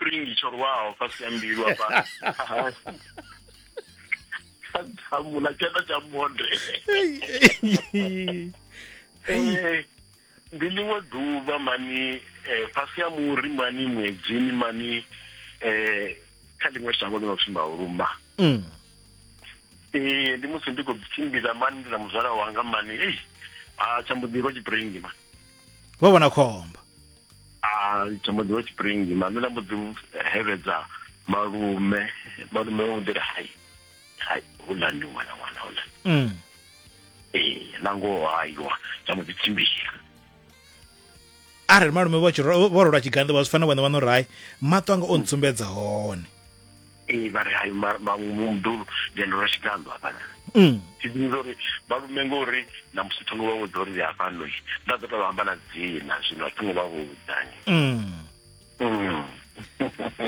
tshipiringi tsho rwaho fhasi ya mbilu afha tshamula tshanḓa tsha monde. Ndi ḽiṅwe ḓuvha mani fhasi ya muri mani ṅwedzini mani kha ḽiṅwe shango ḽi no pfi Mauluma. Ee, ndi musi ndi khou tshimbila mani ndi na muzwala wanga mani, ei a tsha mbo ḓi rwa tshipiringi mani. Vho vhona khombo. A tsha mbo ḓi rwa tshipiringi mani, nda mbo ḓi hevhedza malume, malume vho ḓi ri hai hai houḽa ndi ṅwana ṅwana houḽa. Ee, na ngoho haiwa tsha mbo ḓi tshimbila. Arali malume vho vho rolwa tshiganḓo vha zwi fanela vhone vha no ri hai maṱo anga o ntsumbedza hone. Ee, vha ri hai muḓulu ndi ndo rwa tshiganḓo hafhaḽa. Thi ḓivhi uri malume ngori na musi thongo vha vhudza uri ndi hafhano, nda ḓo tou amba na dzina zwino a thingo vha vhudza.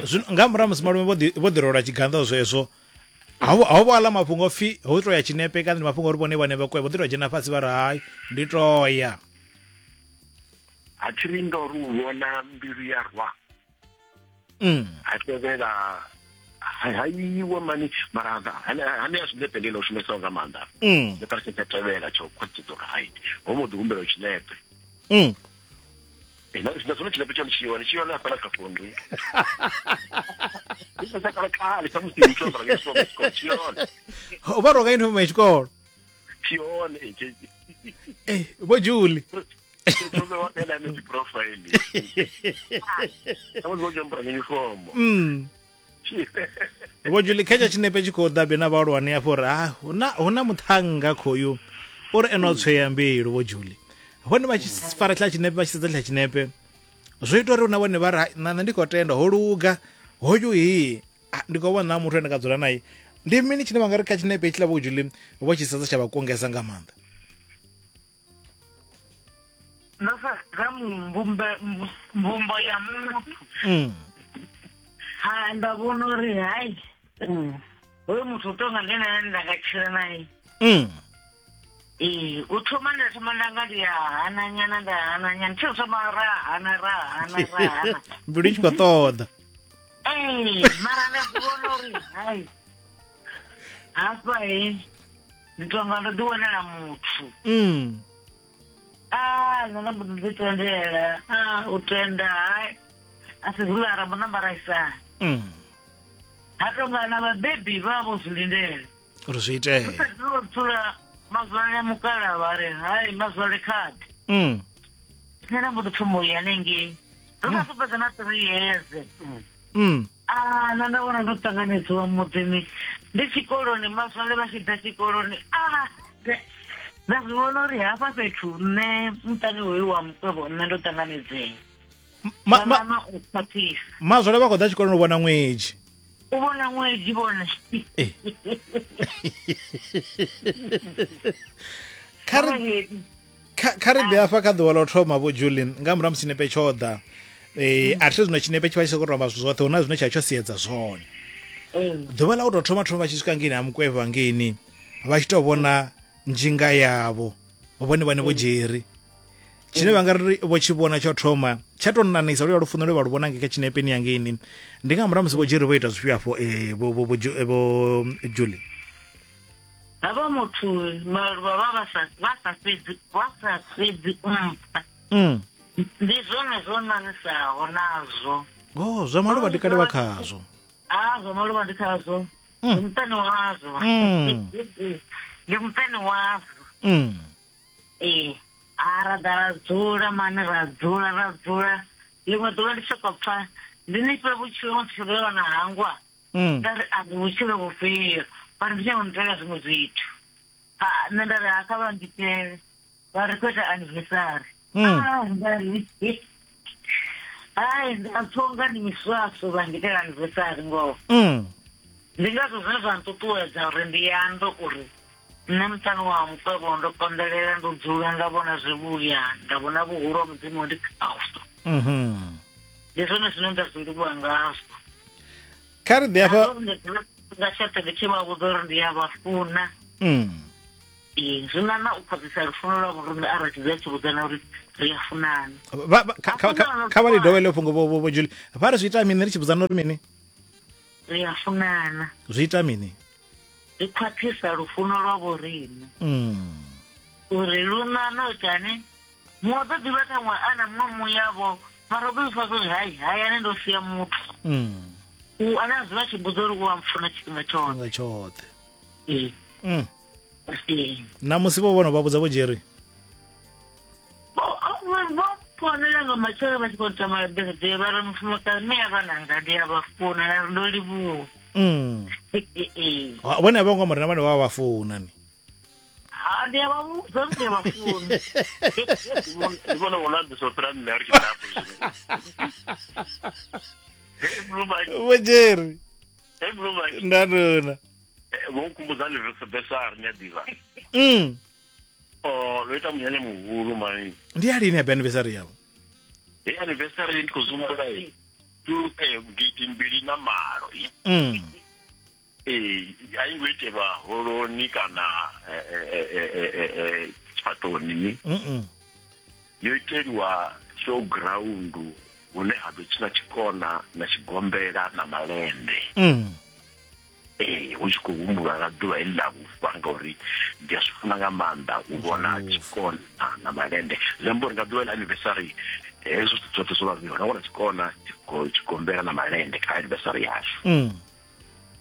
Zwino nga murahu musi malume vho ḓi rolwa tshiganḓo zwezwo, ho vho aḽa mafhungo pfi ho to ya tshinepe kana ndi mafhungo uri vhone vhane vha kwe vho ḓi to dzhena fhasi vha ri hai ndi to ya. A thi ri ndo ri u vhona mbilu ya rwa. Ha tevhela haiwa mani mara hane ya zwinepe ndi ḽo shumesaho nga maanḓa. Ndi kale tsha tevhela tsho khwaṱhisedza uri hai ho mbo ḓi humbela tshinepe. Na zwone tshinepe tshone tshi hone, tshi hone hafhaḽa kha founu. Ndi tsha kale kale tsha musi ndi tshi ambara uniform ya tshikolo, tshi hone. Vha rwa nga uniform ya tshikolo. Tshi hone. Vho Julie. Tsho vhewa kha ḽa dzi profile. Tsha musi vho tshi ambara uniform. Vho Julie, kha tsha tshinepe tshi khou ḓa na vhahulwane afho uri ha huna muṱhannga khoyu uri ene o tsweya mbilu. Vho Julie, vhone vha tshi fara tshiḽa tshinepe, vha tshi sedza tshiḽa tshinepe, zwo ita uri na vhone vha ri na nṋe ndi khou tenda ho luga hoyu hi ndi khou vhona muthu ane nga dzula naye. Ndi mini tshine vha nga ri kha tshinepe hetshiḽa Vho Julie vho tshi sedza tsha vha kungesa nga maanḓa? Ndo sedza mvumbo ya muthu. Ha nda vhona uri hai hoyu muthu u tonga ndi nane nda nga tshila naye. Ee, u thoma nda thoma nda nga ndi ya hana nyana, nda hana nyana, thi u thoma ra hana ra hana ra hana. Mbilu i tshi khou ṱoḓa. Ee, mara nda zwi vhona uri hai hafha he ndi tonga ndo ḓi wanela muthu. A nṋe nda mbo ḓi ḓi tendela, a u tenda hai a si hula ra mbo namba ra isana. Ha tonga na vhabebi vha vho zwi lindela uri zwi itee. Ro dzula mazwale mukala vha ri hai mazwale khadi. Nṋe nda mbo ḓi thoma u ya hanengei, ndo sa fhedza na 3 years. A nṋe nda vhona ndo ṱanganedziwa muḓini, ndi tshikoloni, mazwale vha tshi ḓa tshikoloni, a nda zwi vhona uri hafha fhethu nṋe muṱani hoyu wa mukwevho nṋe ndo ṱanganedzea. Mama u khwaṱhisa. Mazwale vha khou ḓa tshikoloni u vhona ṅwedzi. U vhona ṅwedzi vhone. Kha ri ḓe hafha kha ḓuvha ḽo thoma Vho Julie, nga murahu musi tshinepe tsho ḓa. A thi zwino tshinepe tshi vha tshi sokou tou amba zwithu zwoṱhe, hu na zwine tsha tsho siedza zwone. Ḓuvha ḽa u tou thoma thoma vha tshi swika ngeini ha mukwevho hangeini, vha tshi tou vhona nzhinga yavho vhone vhane Vho Jerry, tshine vha nga ri vho tshi vhona tsho thoma tsha tou nanisa luya lufuno lwe vha lu vhona ngei kha tshinepeni yangeini, ndi nga murahu musi Vho Jerry vho ita zwifhio afho Vho Julie? Havha muthu maluvha vha vha sa fhedzi vha sa fhedzi u mpha. Ndi zwone zwo nanisaho nazwo. Oh, zwa maluvha ndi kale vha khazwo. Ah, zwa maluvha ndi khazwo. Ndi muṱani wazwo. Ndi muṱani wazwo. Ee, a ra ḓa ra dzula mani, ra dzula ra dzula. Ḽiṅwe ḓuvha ndi sokou pfa ndi ni fhe vhutshilo musi vhe na hangwa. Nda ri a ndi vhutshilo vhufhio, vha ri ndi nyanga u nitela zwiṅwe zwithu. Ha nṋe nda ri ha kha vha nditele, vha ri khou ita anniversary. Ah, nda ri hai nda pfa unga ndi miswaswo vha ngitela anniversary ngoho. Ndi ngazwo zwine zwa nṱuṱuwedza uri ndi ambe uri nṋe muṱani wa mukwevho ndo konḓelela, ndo dzula nda vhona zwivhuya, nda vhona vhuhulu ha Mudzimu ndi khazwo. Ndi zwone zwine nda zwi livhuwa ngazwo. Kha ri ḓi afha nga tshoṱhe ndi tshi vha vhudza uri ndi a vha funa. Ee, zwi na na u khwaṱhisa lufuno lwa vhoriṋe arali tshi dzula tshi vhudzana uri ri a funana. Vha- vha- kha- kha- kha- kha vha ḽi dovhe ḽo fhungo vho- vho- vho Julie vha ri zwi ita mini ri tshi vhudzana uri mini Ri a funana. Zwi ita mini? Zwi khwaṱhisa lufuno lwa vhoriṋe. Mm. Uri lu ṋaṋa u itani? Muṅwe u ḓo ḓivha ṱhaṅwe a na muṅwe muyavho mara u ḓo zwi pfa uri hai hayani ndo sia muthu. Mm. U ane a dzula a tshi mbudza uri u a mpfuna tshifhinga tshoṱhe. Tshifhinga tshoṱhe. Ee. Mm. Ee. Na musi vho vhono vha vhudza vho Jerry. Vho founela nga matshelo vha tshi khou tama birthday vha ri mufumakadzi mme a vhananga ndi a vha funa nda ri ndo livhuwa. Mm. Ee. Vhone a vho ngo amba uri na vhone vha vha funa ni. Ha, ndi a vha vhudza uri ndi a vha funa. Ndi vhona vho no ambisa u fhira nṋe a ri tshi ḓa hafho zwino. Hey, Blue Mike. Vho Jerry. Hey, Blue Mike. Nda nduna. Vho nkhumbudza anniversary ni a ḓivha. Oh, ro ita munyanya muhulu mani. Ndi ya lini happy anniversary yavho? Hey, anniversary ndi khou zwi humbula 2008. Ee, a i ngo itelwa holoni kana tshifhaṱoni. Yo iteliwa showground hune ha ḓo tshina tshikona na tshigombela na malende. Ee, hu tshi khou humbulwa nga ḓuvha heḽi ḽa vhufa ngauri ndi a zwi funa nga maanḓa u vhona tshikona na malende. Zwi amba uri nga ḓuvha ḽa anniversary hezwo zwithu zwoṱhe zwo vha zwi hone, wana tshikona, tshigombela na malende kha anniversary yashu.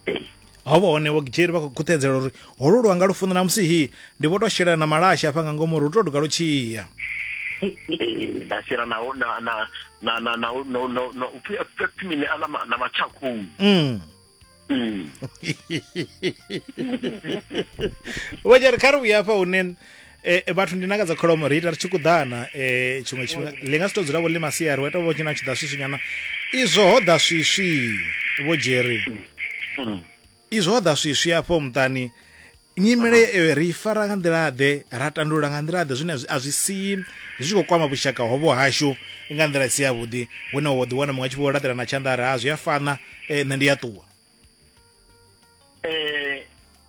Ee. Ho vha hone vho Jerry vha khou khuthedzela uri holu lwanga lufuno na musi hi ndi vho to shela na malasha hafha nga ngomu uri hu to duga lu tshiya. Ee, nda shela na na na na na na na na na upfi upfi mini aḽa na matshakhou. Vho Jerry kha ri vhuye hafha hune vhathu ndi nanga dza kholomo ri ita ri tshi kuḓana tshiṅwe tshifhinga ḽi nga si to dzula vho ḽi masiari wa ita vho tshina tshi ḓa swiswi nyana izwo ho ḓa swiswi vho Jerry. Izwo ho ḓa swiswi afho muṱani nyimele eyo ri i fara nga nḓila ḓe ra tandulula nga nḓila ḓe zwine a zwi sii zwi tshi khou kwama vhushaka hovho hashu nga nḓila i si yavhuḓi hune wa ḓi wana muṅwe a tshi vho laṱela na tshanḓa a ri ha zwi a fana nṋe ndi a ṱuwa.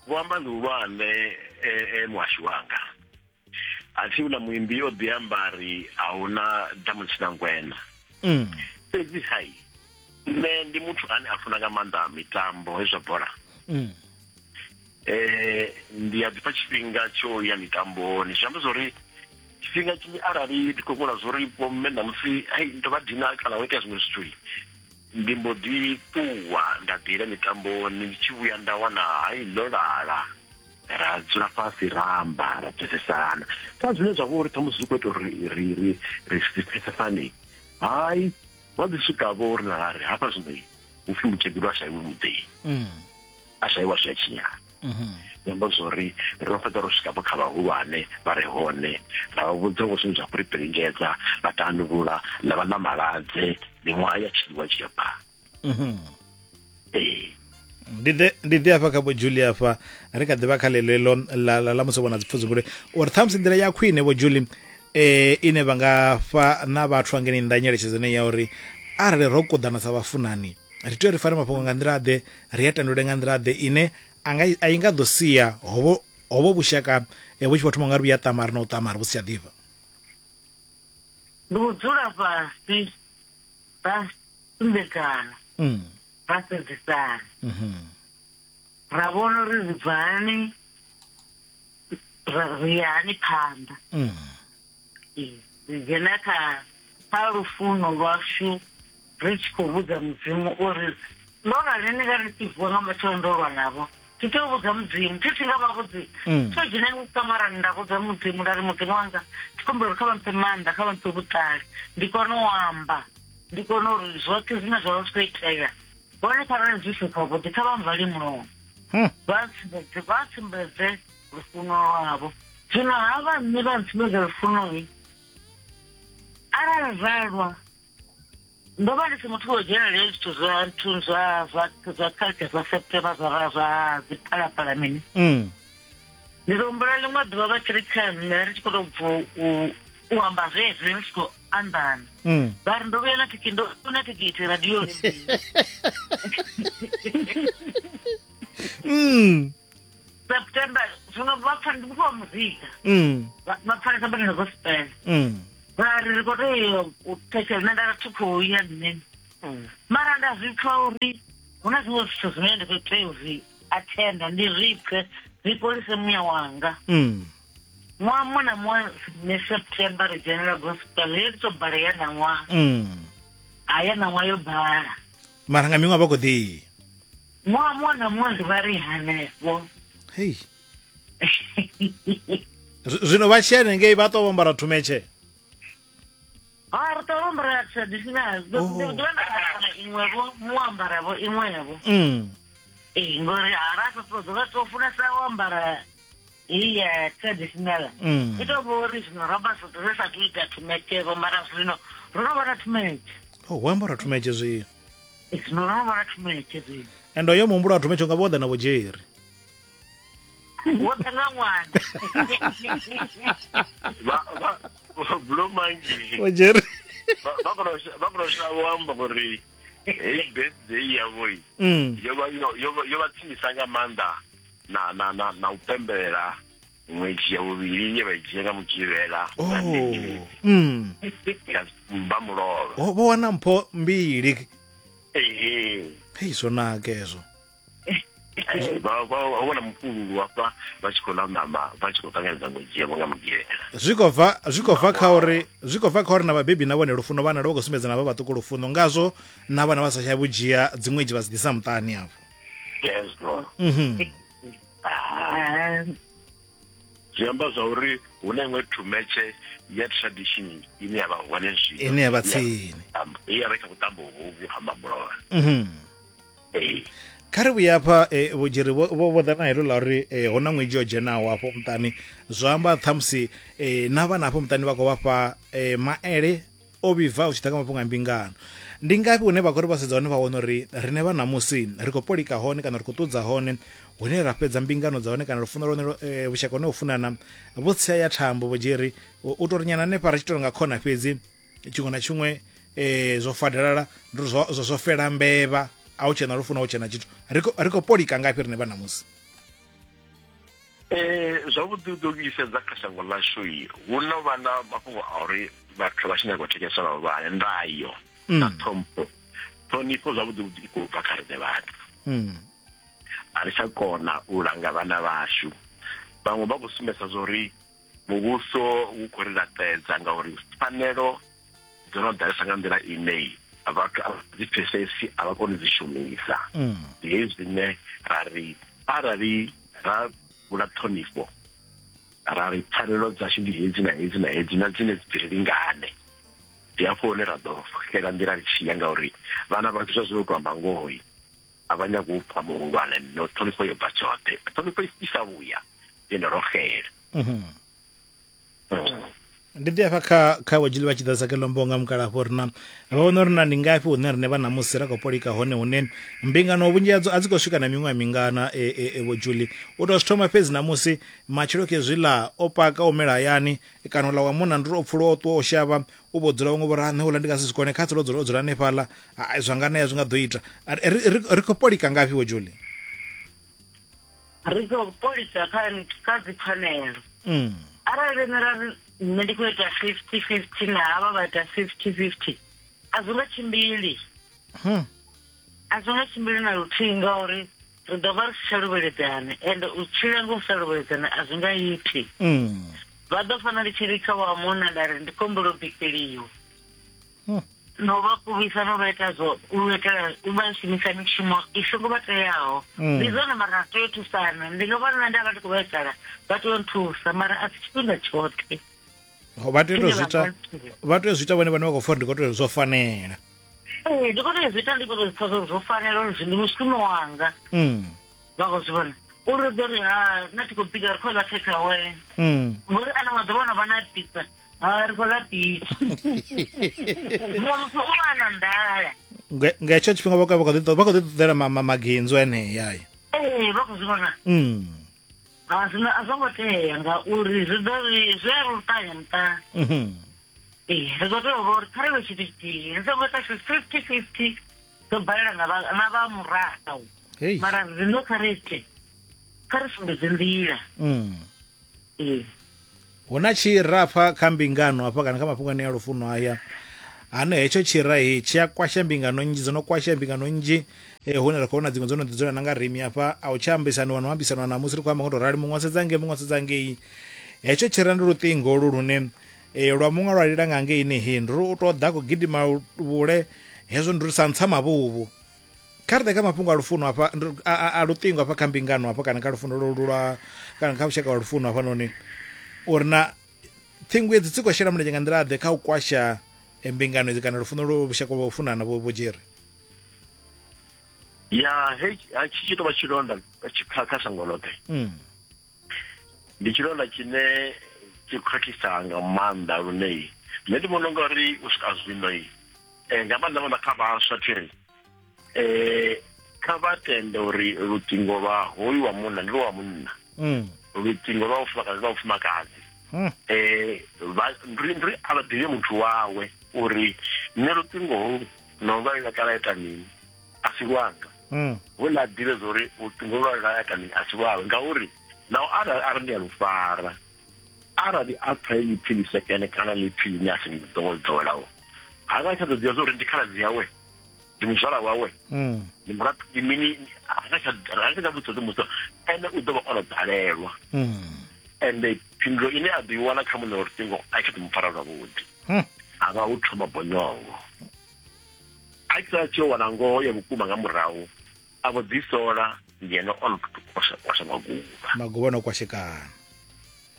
Vho amba ḽihulwane muhashu wanga. A thi huna muimbi o ḓi amba ri a huna damu ḽi ngwena. Fhedzi hai nṋe ndi muthu ane a funa nga maanḓa mitambo hezwi zwa bola. Ndi a ḓifha tshifhinga tsho ya mitamboni zwi amba zwori tshifhinga tshinzhi arali ndi khou vhona zwori vho mme ṋamusi hai ndo vha dina kana ho itea zwiṅwe zwithu ndi mbo ḓi ṱuwa nda ḓiela mitamboni ndi tshi vhuya nda wana hai ḽo lala ra dzula fhasi ra amba ra pfesesana kha zwine zwa vha uri ṱhamusi zwi khou ita uri ri ri ri si pfesesane hai vha ḓi swika vho ri na ri hafha zwino hu pfi mukegulu a shaiwe muḓini a shaiwa zwi a tshinyala. Zwi amba zwori ro fhedza ro swika vho kha vhahulwane vha re hone ra vha vhudza vho zwine zwa khou ri piringedza vha tandulula ḽa vha ḽa maladze miṅwaha ya tshiliwa tshi ya phanḓa. Ee. Ndi ḓe ndi ḓe hafha kha vho Julie hafha ri kha ḓivha kha ḽeḽo ḽo ḽa ḽa ḽa musi vhona dzipfudzumbule uri ṱhamusi nḓila ya khwine vho Julie ine vha nga fha na vhathu angeni nnḓa nyeletshedzo ine ya uri arali ro kuḓana sa vhafunani ri tea uri fare mafhungo nga nḓila ḓe ri a tandulule nga nḓila ḓe ine anga a i nga ḓo sia hovho hovho vhushaka vhu tshi vho thoma nga ri vhuya ṱamari na u ṱamari vhu si tsha ḓifha. Ndi u dzula fhasi ra sumbedzana ra sedzesana ra vhona uri ri bva hani ri ya hani phanḓa. Ee, ri dzhena kha kha lufuno lwashu ri tshi khou vhudza Mudzimu uri ndo rali ni nga ri tshi vuwa nga matsheloni ndo lwa navho thi tea u vhudza Mudzimu thi thi nga vha vhudzi tho dzhena nga kamarani nda vhudza Mudzimu nda ri Mudzimu wanga ndi khou humbela uri kha vha mphe maanḓa kha vha mphe vhuṱali ndi kone u amba ndi kone uri zwoṱhe zwine zwa vha zwi khou itea vhone kharali zwi si zwavhuḓi kha vha mvale mulomo vha ntsumbedze vha ntsumbedze lufuno lwavho zwino havha nṋe vha ntsumbedza lufuno arali ra lwa ndo vha ndi si muthu wo dzhenelela hezwi zwithu zwa nthu zwa zwa zwa culture zwa September zwa zwa dziphalaphala mini ndi ḓo humbula ḽiṅwe ḓuvha vha tshi ri kha nṋe ri tshi khou tou bva u amba zwezwi ri tshi khou anḓana vha ri ndo vhuya na thikhi ndo na thikhithi radioni September zwino vha pfa ndi muthu wa muzika. Vha pfanesa badi na gospel. Vha ri ri khou tea u thetshelesa, nṋe nda ri thi khou ya nṋe. Mara nda zwi pfa uri hu na zwiṅwe zwithu zwine ndi khou tea u zwi athenda, ndi zwi pfe zwi fholise muya wanga. Ṅwaha muṅwe na muṅwe ne September ri dzhenela gospel, yo tou bala ya ṋaṅwaha. Ha ya ṋaṅwaha yo bala. Mara nga miṅwaha vha khou ḓi. Ṅwaha muṅwe na muṅwe ndi vha ri hanefho. Hei. Zwino vha tshi hanengei vha ṱwa vho ambara thumetshe? Ha ri ṱwa vho ambara traditional. Ḓo ḓuvha nda ambara iṅwe-vho, muṅwe ambara-vho iṅwe-vho. Ee, ngori ha ra sa ṱoḓa vha tou funesa u ambara heyi ya traditional. I tou vha uri zwino ro vha ri sa tou ita thumetshe-vho, mara zwino ro no vha na thumetshe. Oh, hu ambara thumetshe zwino. Zwino ro no vha na thumetshe zwino. Ende hoyo muhumbulo wa thumetshe unga vho ḓa na vho Jerry. Wo ḓa nga ṅwana. Vha vha Blue Monkey. Vho Jerry. Vha kona vha kona u vho amba uri heyi birthday yavho yo vha yo vha tsinisa nga maanḓa na na na na u pembelela ṅwedzi ya vhuvhili ye vha i dzhia nga Mugivhela nga vha mulovha. Vho wana mpho mbili. Ehe. Hei, zwo naka hezwo. Vha vha vhona mufhululu hafha vha tshi khou ḽa ṋama vha tshi khou ṱanganedza ṅwedzi yavho nga Mugivhela. Zwi khou bva zwi khou bva kha uri zwi khou bva kha uri na vhabebi na vhone lufuno vhana vha khou sumbedza na vha vhaṱuku lufuno, ngazwo na vhana vha sa tsha vhudzhia dziṅwedzi vha dzi ḓisa muṱani afho. Hezwo. Zwi amba zwa uri hu na iṅwe thumetshe ya tradition ine ya vha hone zwino. Ine ya vha tsini. Ya vha kha vhuṱambo hovhu ha Mamulovha. Ee. Kha ri vhuye hafha Vho Jerry vho vho ḓa na heḽo ḽa uri hu na ṅwedzi yo dzhenaho afho muṱani, zwa amba ṱhamusi na vhana afho muṱani vha khou vha fha maele o vhibvaho zwi tshi ḓa kha mafhungo a mbingano. Ndi ngafhi hune vha khou ri vha sedza hone vha wana uri riṋe vha ṋamusi ri khou polika hone kana ri khou ṱudza hone hune ra fhedza mbingano dza hone kana lufuno lwone vhushaka hone u funana vho tsia ya thambo Vho Jerry u tou ri nyana hanefha ri tshi tou nga khona fhedzi tshiṅwe na tshiṅwe zwo fadalala ndi uri zwo zwo fela mbevha a hu tshena lufuno a hu tshena tshithu ri khou polika ngafhi riṋe vha ṋamusi? Zwavhuḓi u ḓo vhuisedza kha shango ḽashu hu no vha na mafhungo a uri vhathu vha tshi nyaga u thetshelesa vhahulwane, ndayo na ṱhompho. Ṱhonifho zwavhuḓi vhuḓi i khou bva kha riṋe vhathu. A ri tsha kona u langa vhana vhashu. Vhaṅwe vha khou sumbedzisa zwa uri muvhuso u khou ri laṱedza ngauri pfanelo dzo no ḓalesa nga nḓila ine vhathu a vha dzi pfesesi, a vha koni dzi shumisa. Ndi hezwi zwine ra ri arali ra vula ṱhonifho ra ri pfanelo dzashu ndi hedzi na hedzi na hedzi na dzine dzi ri lingane, ndi hafho hune ra ḓo xela nḓila ri tshi ya, ngauri vhana vhashu zwa zwino u tou amba ngoho a vha nyagi u pfa muhulwane, no ṱhonifho yo bva tshoṱhe, ṱhonifho i sa vhuya ine ro xela. Ndi ḓi afha kha kha vho Dzhili vha tshi ḓadza keḽo mbonga mukalafho uri na vha vhona uri na ndi ngafhi hune riṋe vha ṋamusi ra khou polika hone hune mbingano vhunzhi hadzo a dzi khou swika na miṅwaha mingana vho Julie u tou zwi thoma fhedzi ṋamusi matshelo khezwiḽa o paka o mela hayani kana uḽa wa munna ndi uri o pfuluwa o ṱuwa o shavha u vho dzula vhaṅwe vho ri nṋe uḽa ndi nga si zwi kone kha dzula o dzula hanefhaḽa zwa nga nea zwi nga ḓo ita ri khou polika ngafhi vho Julie? Ri khou polisa kha kha dzipfanelo. Arali riṋe ra ri nṋe ndi khou ita 50-50 na havha vha ita 50-50 a zwi nga tshimbili. A zwi nga tshimbili na luthihi ngauri ri ḓo vha ri si tsha luvheledzana ende u tshila nga u sa luvheledzana a zwi nga iti. Vha ḓo fana ndi tshi ri kha wa munna nda ri ndi khou humbela u bikeliwa. No vha kuvhisa no vha ita zwo u itela u vha shumisa mishumo i songo vha teaho. Ndi zwone mara ri tea u thusana, ndi nga vhona nṋe nda vha ndi khou vhaisala vha tea u nthusa mara a si tshifhinga tshoṱhe. Vha tea u zwi ita, vha tea u zwi ita vhone vhane vha khou pfa uri ndi khou tea zwo fanela. Ee, ndi khou tea u zwi ita ndi khou tou zwi pfa zwo fanela uri ndi mushumo wanga. Vha khou zwi vhona uri ḓo ri ha nṋe thi khou bika ri khou ḽa take away. Ngori ano maḓuvha ono vha na pizza. Ha ri khou ḽa pizza. Muṅwe muthu u vha na nḓala. Nga hetsho tshifhinga vha khou ḓi vha khou ḓi ṱoḓela maginzo enea aya. Ee, vha khou zwi vhona. Ha zwino a zwo ngo tea ngauri zwi ḓo ri zwi a ri luṱanya muṱani. Ee, ri khou tea u vha uri kha ri vhe tshithu tshithihi ri songo ita 50-50 ḓo balela na vha na vha murahu. Mara zwino kha ri ite. Kha ri sumbedze nḓila. Ee. Hu na tshira hafha kha mbingano hafha kana kha mafhungo ane a lufuno haya ane hetsho tshira he tshi a kwasha mbingano nnzhi, dzo no kwasha mbingano nnzhi eh, hune ra khou vhona dziṅwe dzo no ḓi dzula na nga rimi hafha a u tsha ambisaniwa na u ambisaniwa ṋamusi ri khou amba ngo to rali muṅwe a sedza ngei muṅwe a sedza ngei. Hetsho tshira ndi luṱingo holu lune eh, lwa muṅwe lwa lila nga ngeini he ndi uri u to ḓa khou gidima vhule hezwo ndi uri sa ntsa mavhuvhu. Kha ri ḓe kha mafhungo a lufuno hafha a luṱingo hafha kha mbingano hafha kana kha lufuno lolu lwa kana kha vhushaka lwa lufuno hafhanoni uri na ṱhingo edzi dzi khou shela mulenzhe nga nḓila ḓe kha u kwasha eh, mbingano idzi kana lufuno lwo vhushaka lwa u funana vho vho Jerry. Ya he ha tshi tshi tovha tshilonda kha kha shango ḽoṱhe. Ndi tshilonda tshine tshi khwaṱhisa nga maanḓa lune nṋe ndi vhona ungari u swika zwino nga maanḓa maanḓa kha vhaswa thiri kha vha tende uri luṱingo lwa hoyu wa munna ndi lwa munna, luṱingo lwa mufumakadzi lwa mufumakadzi. Ndi a vha ḓivhe muthu wawe uri nṋe luṱingo holu no vha ḽa kala ita mini a si lwanga. Houḽa a ḓivhe zwa uri luṱingo lwa lwa ita mini a si lwawe, ngauri naho arali a ri ndi a lu fara, arali a pfa heḽi pfi ḽisekene kana ḽipfi ḽine a si ḓo ḓowelaho, ha nga tsha ḓo ḓivha zwa uri ndi khaladzi yawe, ndi muzwala wawe, ndi murathu, ndi mini, ha nga tsha vhudzisa musi ene u ḓo vha o no ḓalelwa. Ende phindulo ine a ḓo i wana kha muṋe wa luṱingo a tshi ḓo mu fara zwavhuḓi, a vha hu thoma bonyongo. A tshi sala tshi yo wana ngoho ya vhukuma nga murahu, a vho ḓisola ngeno o no kwasha maguvha. Maguvha no kwashekana.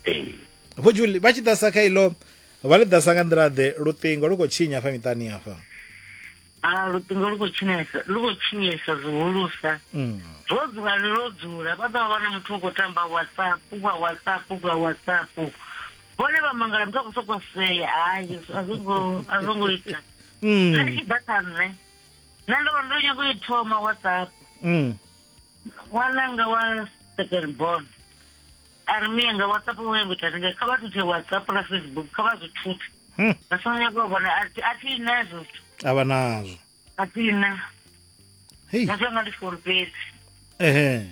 Ee. Vho Julie vha tshi ḓasa kha ilo vha ḽi ḓasa nga nḓila ḓe luṱingo lu khou tshinya hafha miṱani hafha? A luṱingo lu khou tshinyesa, lu khou tshinyesa zwihulusa. Ro dzula ri ro dzula vha ḓo vha na muthu u khou tamba WhatsApp kwa WhatsApp kwa WhatsApp. Vhone vha mangala muthu a khou sokou sea, hai a zwo ngo a zwo ngo ita. Nṋe ndi tshi ḓa kha nṋe, nṋe ndo vha ndo nyaga u i thoma WhatsApp. Ṅwananga wa second born a ri mianga WhatsApp wo nyaga u ita ndi kha vha thuthe WhatsApp na Facebook kha vha zwi thuthe. Vha songo nyaga u vhona a thi na hezwo zwithu. A vha nazwo. A thi na. Hei. Nga zwanga ndi phone fhedzi. Ehe.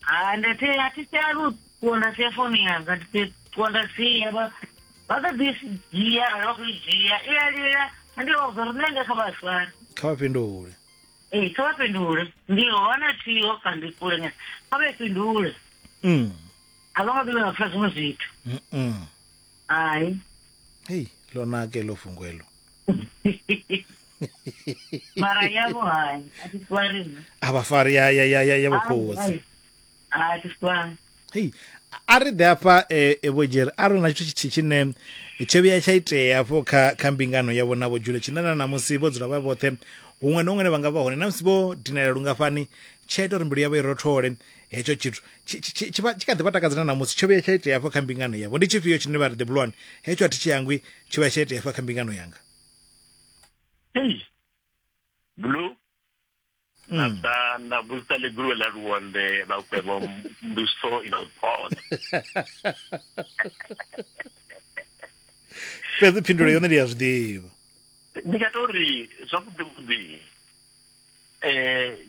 Ha ndi thi a thi sia lu ṱuwa nda sia founu yanga ndi ṱuwa nda sia vha vha ḓo ḓi dzhia arali vha khou i dzhia i a lila ndi vha vhudza uri nṋe nga kha vha fare. Kha vha fhindule. Ee kha vha fhindule ndi hone thiho kha ndi kule nyana kha vha fhindule. A vha nga ḓo vha pfa zwiṅwe zwithu. Hai. Hei ḽo naka heḽo fhungo heḽo. Mara yavho hai a thi fari nṋe. A vha fari ya ya ya ya ya vhokhotsi. A thi fari. Hei a ri ḓe hafha eh, vho Jerry a ri na tshithu tshithihi tshine tsho vhuya tsha itea hafho kha kha mbingano yavho na vho Julia tshine na ṋamusi vho dzula vha vhoṱhe huṅwe na huṅwe vha nga vha hone na musi vho dinela lungafhani tsha ita uri mbilu yavho i rothole hetsho tshithu tshi vha tshi kha ḓi vha takadza na ṋamusi tsho vhuya tsha itea hafho kha mbingano yavho ndi tshifhio tshine vha ri the blue one hetsho a thi tshi hangwi tsho vhuya tsha itea hafha kha mbingano yanga. Hey, blue na na vhudzisa ḽiguluvhe ḽa luonde vha kwevho mbuso i no phoda. Fhedzi phindulo yone ndi ya zwi ḓivha. Ndi nga to ri zwavhuḓi vhuḓi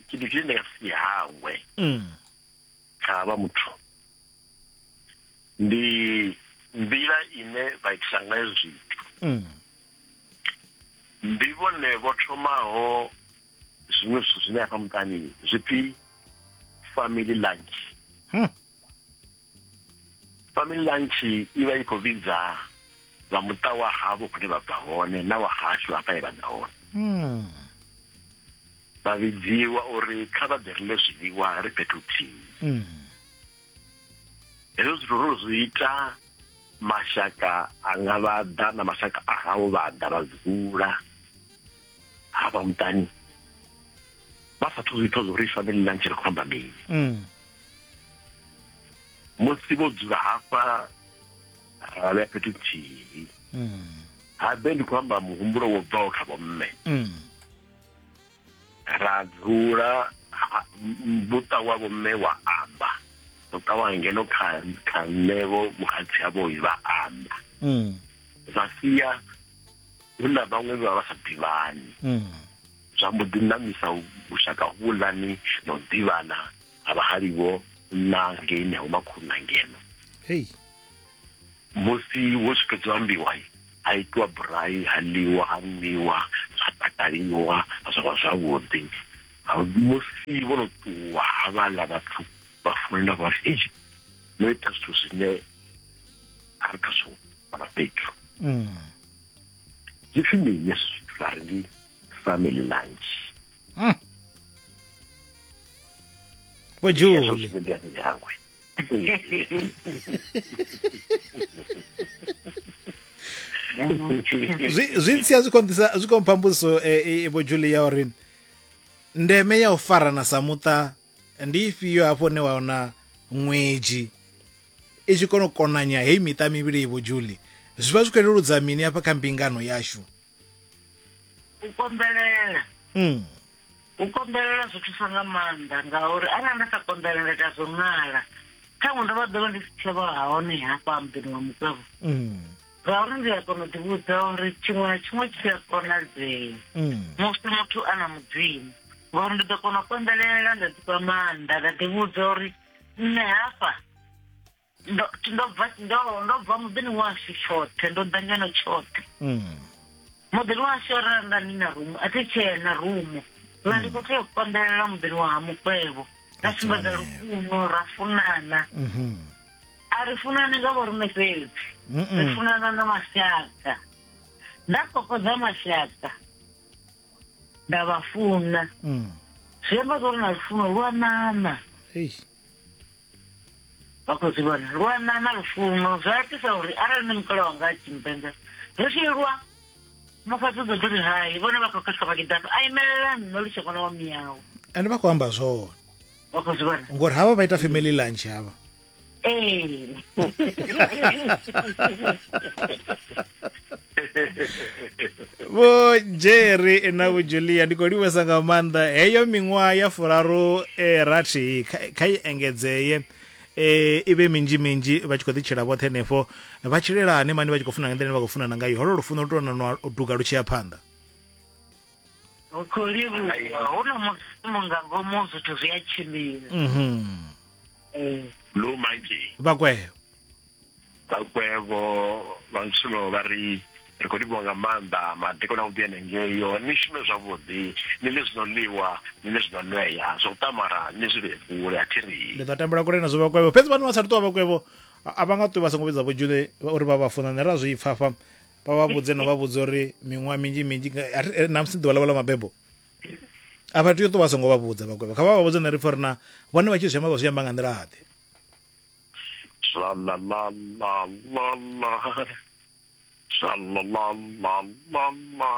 tshithu tshine ndi nga si hangwe kha vha muthu ndi nḓila ine vha itisa ngayo zwithu. Ndi vhone vho thomaho zwiṅwe zwithu zwine hafha muṱani zwi pfi family lunch. Family lunch i vha i khou vhidza vha muṱa wa havho hune vha bva hone na wa hashu hafha he vha ḓa hone. Vha vhidziwa uri kha vha ḓe ri ḽe zwiḽiwa ri fhethu huthihi. Hezwo zwithu ro zwi ita mashaka anga vha ḓa na mashaka a havho vha ḓa vha dzula hafha muṱani vha sathu zwi pfa zwa uri family lunch ri khou amba mini. Musi vho dzula hafha ra vhea fhethu nthihi. Habe ndi khou amba muhumbulo wo bvaho kha vhomme. Ra dzula muṱa wa vhomme wa amba, muṱa wa ngeno kha kha nṋe vho vhuhadzi havho vha amba. Zwa sia hu na vhaṅwe vha vha sa ḓivhani. Zwa mbo ḓi ṋamisa vhushaka huvhuḽani na u ḓivhana ha vhahali vho na ngeini ha vhomakhulu na ngeno. Hei. Musi wo zwi fhedza u ambiwa, ha itiwa burai, ha ḽiwa, ha nwiwa, zwa takaliwa, zwa vha zwavhuḓi. Musi vho no ṱuwa havhaḽa vhathu vha funana vha ri, Hei, no ita zwithu zwine a ri khazwo fhano fhethu. Zwi pfi mini hezwi zwithu? Vha ri ndi family lunch. Vho Julie. Ndi a ndi hangwe. Zwi zwi ntsia zwi konḓisa zwi khou mpha mbudziso Vho Julie ya uri ndeme ya u farana sa muṱa ndi ifhio hafho hune wa wana ṅwedzi i tshi kona u konanya heyi miṱa mivhili Vho Julie zwi vha zwi khou leludza mini hafha kha mbingano yashu? U konḓelela. U konḓelela zwi thusa nga maanḓa ngauri arali nda sa konḓelela nda ita zwo ṅala khaṅwe ndo vha ḓovha ndi si tsha vha hone hafha muḓini wa mukwevho. Ngauri ndi a kona u ḓivhudza uri tshiṅwe na tshiṅwe tshi a konadzea musi muthu a na Mudzimu, ngauri ndi ḓo kona u konḓelela nda ḓifha maanḓa nda ḓivhudza uri nṋe hafha ndo ndo bva ndo ndo bva muḓini washu tshoṱhe, ndo ḓa ngeno tshoṱhe. Muḓini washu arali nda ndi na rumu a thi tshena rumu, nṋe ndi khou tea u konḓelela muḓini wa ha mukwevho ra sumbedza lufuno ra funana. A ri funani nga vho riṋe fhedzi, ri funana na mashaka. Nda kokodza mashaka nda vha funa, zwi amba zwa uri na lufuno lu a ṋaṋa. Vha khou zwi vhona lu a ṋaṋa lufuno, zwa itisa uri arali nṋe mukala wanga a tshi mpenga ri tshi lwa musadzi u ḓo ḓi ri hai vhone vha khou khetha vha tshi ḓa a imelela nṋe lu tshe ṅwana wa miyawe. Ende vha khou amba zwone. Vha khou zwi vhona ngori havha vha ita family lunch havha. Ee. Vho Jerry na Vho Julia ndi khou livhesa nga maanḓa heyo miṅwaha ya furaru rathi kha i engedzee i vhe minzhi minzhi vha tshi khou ḓi tshila vhoṱhe henefho vha tshilelane mani vha tshi khou funa nga nḓila ine vha khou funana ngayo holo lufuno lu tou nwa u duga lu tshi ya phanḓa. Hu khou livhuwa hu na Mudzimu nga ngomu zwithu zwi a tshimbila. Lu manzhi Vhakwevho. Vhakwevho vha Ntshulo vha ri, Ri khou livhuwa nga maanḓa madekwana avhuḓi henengeyo. Ni shume zwavhuḓi, ni ḽe zwi no ḽiwa, ni ḽe zwi no nwea. Zwa u ṱamara ni zwi vhee kule, a thi ri. Ndi ḓo tambela kule nazwo vhakwevho. Fhedzi vhane vha sa ṱuwa vhakwevho a vha nga ṱuwi vha songo vhidza Vho Julie uri vha vha funa. Nṋe ra zwi pfa hafha vha vha vhudze no vha vhudza uri miṅwaha minzhi minzhi na musi ḓuvha ḽavho ḽa mabebo a vha tea u ṱuwa vha songo vha vhudza vhakwevho. Kha vha vha vhudze nṋe ri pfa uri na vhone vha tshi zwi amba vha zwi amba nga nḓila ḓe. Sha la la la la la. Sha la la la la la.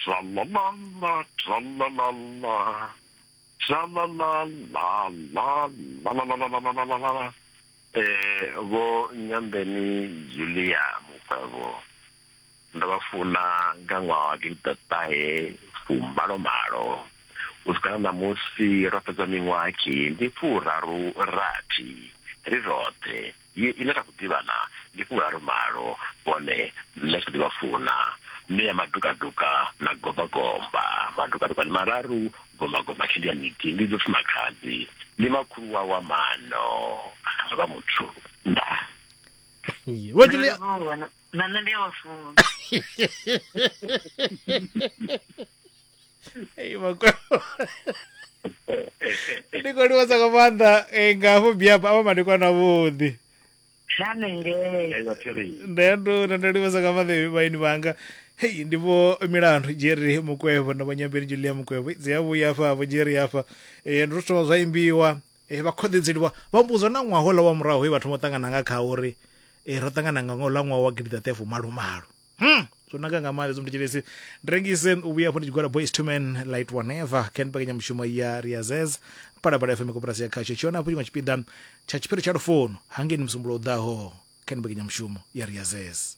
Sha la la la, sha la la la. Sha la la la la la la la la la la la la. Eh vho Nyambeni Julia Mukwevho ndo vha funa nga ṅwaha wa gidiḓaṱahe fumalomalo u swika na ṋamusi ro fhedza miṅwaha khi ndi furaru rathi ri roṱhe ye ine ra khou ḓivhana ndi furaru malo vhone nṋe kha ḓi vha funa mme ya madukaduka na gombagomba madukaduka ndi mararu gombagomba khi ndi ya miti ndi ḓo pfi makhadzi ndi makhulu wa wa mano vha muthu nda Vho Julia Na nṋe ndi a vha funa. Ei, makwevho. Ndi khou livhuwa nga maanḓa nga hafho biapa avha madekwana avhuḓi. Hanengei. Ndo ndo ndo livhuwa nga maanḓa vhaeni vhanga. Hei ndi vho Milandu Jerry Mukwevho na vho Nyambeni Julia Mukwevho. Dzi a vhuya hafha vho Jerry hafha. Ndo thoma zwa imbiwa vha khoḓedzeliwa vha mbudzwa na ṅwaha houḽa wa murahu he vha thoma u ṱangana nga kha uri ro ṱangana nga ṅwaha ṅwaha wa gidiḓaṱahe fumalomalo. Zwo naka nga maanḓa zwo mthetshelesi ndi rengise u vhuya hafho ndi tshigwada Boys to Men Light One Ever ken mbekanyamushumo ya Riazez Phalaphala FM koporasi ya khasho tshi hone hafho tshiṅwe tshipiḓa tsha tshiphiri tsha lufuno hangeini musumbulo u ḓaho ken mbekanyamushumo ya Riazez.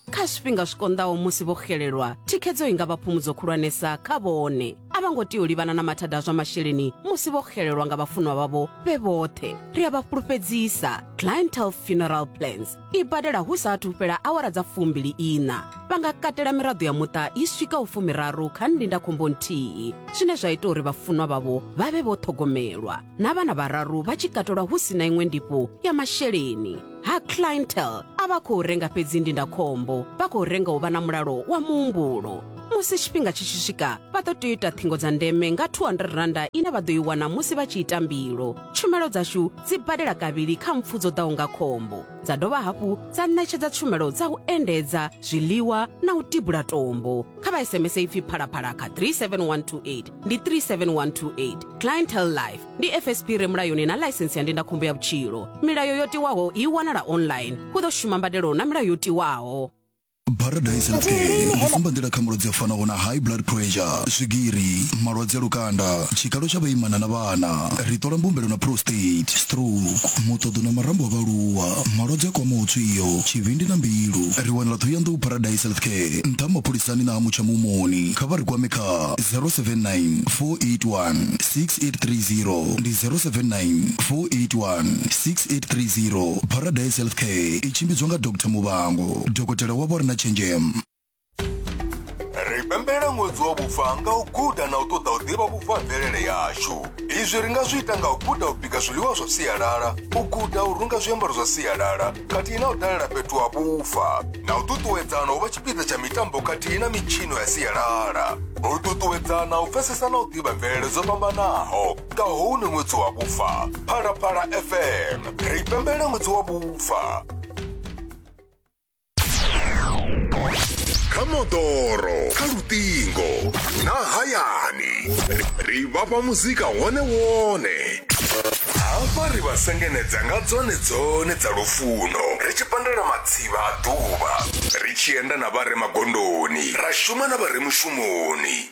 Kha zwifhinga zwi konḓaho musi vho xelelwa, thikhedzo i nga vha phumudzo khulwanesa kha vhone. A vha ngo tea u livhana na mathada a zwa masheleni musi vho xelelwa nga vhafunwa vhavho vhe vhoṱhe. Ri a vha fhulufhedzisa, Clientele Funeral Plans i badela hu sa athu fhela awara dza 24. Vha nga katela miraḓo ya muṱa i swikaho 30 kha ndindakhombo nthihi, zwine zwa ita uri vhafunwa vhavho vha vhe vho ṱhogomelwa, na vhana vhararu vha tshi katelwa hu si na iṅwe ndifho ya masheleni. Ha Clientele a vha khou renga fhedzi ndindakhombo, vha khou renga u vha na mulalo wa muhumbulo. Musi tshifhinga tshi tshi swika, vha ḓo tea u ita ṱhingo dza ndeme nga R200 ine vha ḓo i wana musi vha tshi ita mbilo. Tshumelo dzashu dzi badela kavhili kha mpfu dzo ḓaho nga khombo, dza dovha hafhu dza ṋetshedza tshumelo dza u endedza, zwiḽiwa na u tibula tombo. Kha vha SMS ipfi Phalaphala kha 37128, ndi 37128. Clientele Life ndi FSP re mulayoni na ḽaisensi ya ndindakhombo ya vhutshilo. Milayo yo tiwaho i wanala online. Hu ḓo shuma mbadelo na milayo yo tiwaho. Paradise Healthcare ndi sumbanḓila kha malwadze a fanaho na high blood pressure, swigiri, malwadze a lukanda, tshikalo tsha vhaimana na vhana, ri ṱola mbumbelo na prostate, stroke, muṱoḓo na marambo a vhaaluwa, malwadze a kwamaho tswio, tshivhindi na mbilu. Ri wanala Thohoyandou Paradise Healthcare, nṱha ha mapholisani na ha Mutsha Mumoni. Kha vha ri kwame kha 079 481 6830 ndi 079 481 6830. Paradise Healthcare i tshimbidzwa nga Doctor Muvhango, dokotela wavho a re na tshenzhemo. Ri pembelela ṅwedzi wa vhufa nga u guda na u ṱoḓa u ḓivha vhufa ha mvelele yashu. Izwi ri nga zwi ita nga u guda u bika zwiḽiwa zwa sialala, u guda u runga zwiambaro zwa sialala khathihi na u dalela fhethu ha vhufa, na u ṱuṱuwedzana u vha tshipiḓa tsha mitambo khathihi na mitshino ya sialala. U ṱuṱuwedzana u pfesesa na u ḓivha mvelele dzo fhambanaho nga houno ṅwedzi wa vhufa. Phalaphala FM, ri pembelela ṅwedzi wa vhufa. Kha moḓoro, kha luṱingo na hayani, ri vhafha muzika wone wone. Hafha ri vha sengenedza nga dzone dzone dza lufuno, ri tshi pandela matsivha a ḓuvha, ri tshi enda na vha re magondoni, ra shuma na vha re mushumoni.